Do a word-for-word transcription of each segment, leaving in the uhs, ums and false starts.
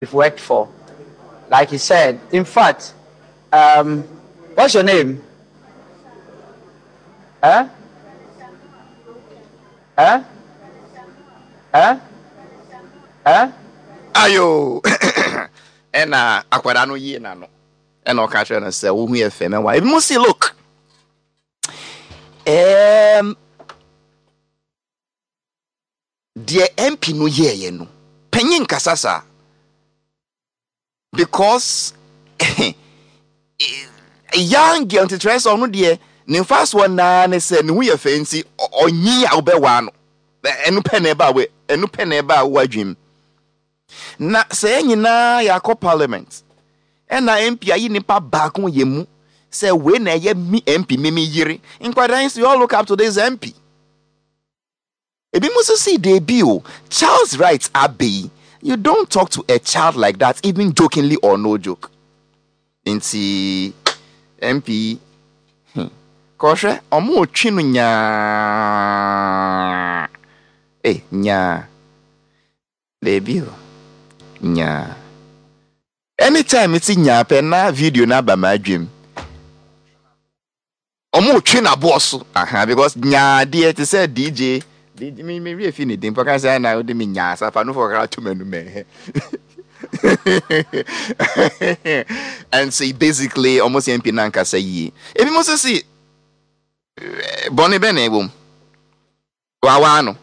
Worked for. Like he said, in fact, um, what's your name? Huh? Huh? Huh? Huh? Ayo, ɛna akwadaa no yie n'ano, ɛna ɔka kyerɛ no sɛ wohu yɛ fɛ mɛwa. Ebi mo si, look, um, deɛ M P no yɛɛyɛ no, panyin kasa saa, because young girl nti kyerɛ sɛ ɔno deɛ ne nfa soɔ naa ne sɛ ne ho yɛ fɛ, nti ɔnyi a wobɛwaa no, ɛno pɛ na ɛba a ɛno pɛ na ɛba a wɔ adwim. Na sɛ yɛn nyinaa yɛakɔ parliament, ɛna M P ayi nipa baako yɛ mu sɛ wei na ɛyɛ mi M P, mi mi yere, nkwadaa yi so, you all look up to this M P. Ebi mo nso si deebi o, child's rights abe. You don't talk to a child like that, even jokingly or no joke. Nti M P, hmm, kɔhwɛ ɔmo otwi no nyaa eh nyaa deebi o, nyaa. Anytime ti nyaa pɛ na video na aba ma adwam, ɔmo otwi n'aboɔ so aha, because nyaa deɛ te sɛ D J D J mi mi wie fi ne din pɔka sɛ ɛna ɔde mi nyaa sa fa no fɔ kakra to m'anum ɛ. And so basically ɔmo sɛ M P nankasa yie. Ebi mo nso si bɔnne bɛ na ɛwɔ mu wawa no.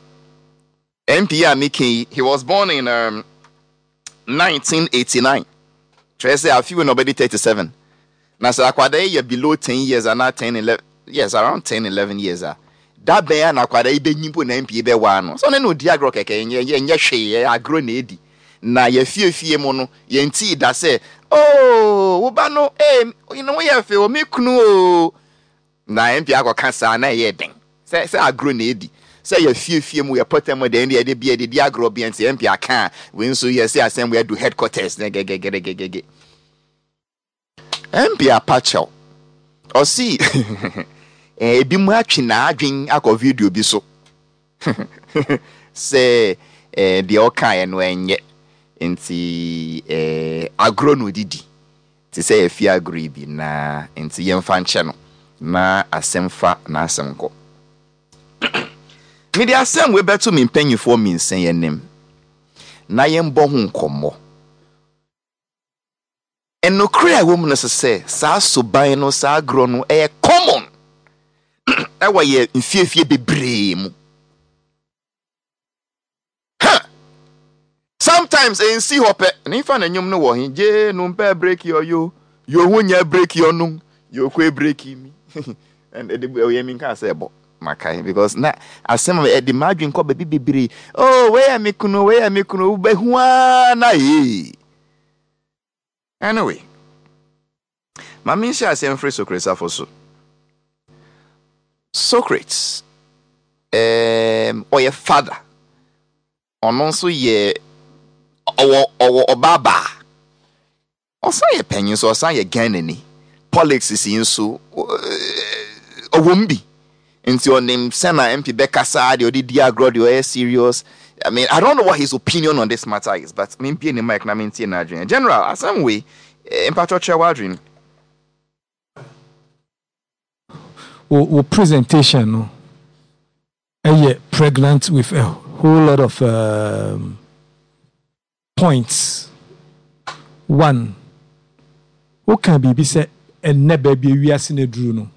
M P a meka yi, he was born in um, nineteen eighty-nine, kyerɛ sɛ afi na ɔbɛdi thirty-seven. Na sɛ akwadaa yi yɛ below ten years anaa ten, eleven years, around ten, eleven years a, da bɛn a na akwadaa yi bɛnyi mpo na M P bɛwaa no so? Ɔne no di agorɔ kɛkɛ, ɛnyɛ ɛnyɛ hwee, ɛyɛ agorɔ na edi. Na yɛfiefie mu no, yɛntii da sɛ, "Oh, wo ba no, ee, ne ho yɛ fɛ o, me kunu o." Na M P akɔka saa na ɛyɛ den sɛ sɛ agorɔ na edi, sɛ yɛfiefie mu, yɛpɔtɛ mu deɛ, ɛde bi ɛde di agorɔ bi. Nti M P aka a, wei nso yɛ sɛ asɛm wei adu headquarters na gɛgɛgɛgɛgɛ. M P apakyɛw, ɔsi ebi mu atwe n'adwen akɔ video bi so sɛ ɛɛ deɛ ɔkaeɛ no ɛnyɛ, nti ɛɛ agorɔ na odidi te sɛ yɛfi agorɔ yi bi na nti yɛmfa nkyɛ no na asɛm fa n'asɛm kɔ. Mede asɛm wei bɛto me mpanyinfoɔ mmiɛnsa yɛn anim na yɛmbɔ ho nkɔmmɔ. Nnokore a ɛwɔ mu no sɛ sɛ saa soban no, saa agorɔ no, ɛyɛ common ɛwɔ yɛ mfiefie bebree mu. Ha, sometimes ɛnsi hɔ pɛ ne nfa na nnwom no wɔ he gye no mpɛ break ɔyo yohu nyɛ break ɔno yokɔ break mi ɛde ɛyɛ mi nka sɛ ɛbɔ makae, because na asɛm a ɛde m'adwen kɔ baabi bebree. Oh, wei yɛ me kunu, wei yɛ me kunu, wobɛhu ara na yee. Anyway, maame, nhyɛ asɛm firi Socrates afo so. Socrates um, ɔyɛ father, ɔno nso yɛ ɔwɔ ɔwɔ ɔbaa baa, ɔsan yɛ panyin so, ɔsan yɛ Ghanani. Politics yi nso ɔwɔ mu bi, nti ɔnim sɛna M P bɛkasa deɛ, ɔde di agorɔ deɛ, ɔyɛ serious. I mean, I don't know what his opinion on this matter is, but mempie ne mic na mentie n'adwene. General, asɛm wei, mpatwɔ, kyerɛ w'adwene. wo wo presentation no ɛyɛ pregnant with a whole lot of um, points. One, woka biribi sɛ ɛnnɛ baabi ewiase no aduru no,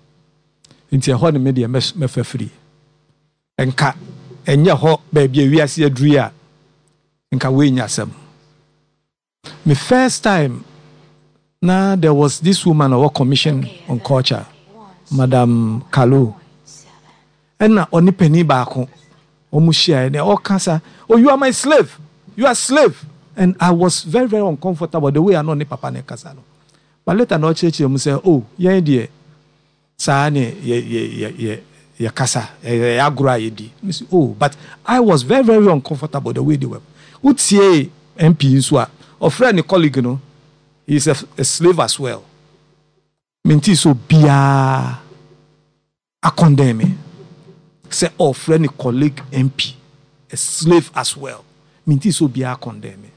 nti ɛhɔ ne me deɛ mɛfa firi. Nka ɛnyɛ hɔ baabi ewiase aduru yi a, nka woenya asɛm. Me first time na there was this woman ɔwɔ Commission on Culture, Madam Kalu, ɛna ɔne panin baako wɔn hyia ɛna ɔka sa, "Oh, you are my slave, you are slave," and I was very, very uncomfortable the way ano ne papa ne kasa no. But later na ɔkyerɛkyerɛ mu sɛ, oh, yɛn deɛ saa ne yɛ yɛ yɛ yɛ yɛ kasa, ɛyɛ agorɔ a yɛdi. Me oh, but I was very, very uncomfortable the way they were. Wotie M P nso a ɔfrɛ ne colleague no, he is a, a slave as well. Menti so biara acondemn me sɛ ɔfrɛ ne colleague M P a slave as well. Menti so biara condemn me.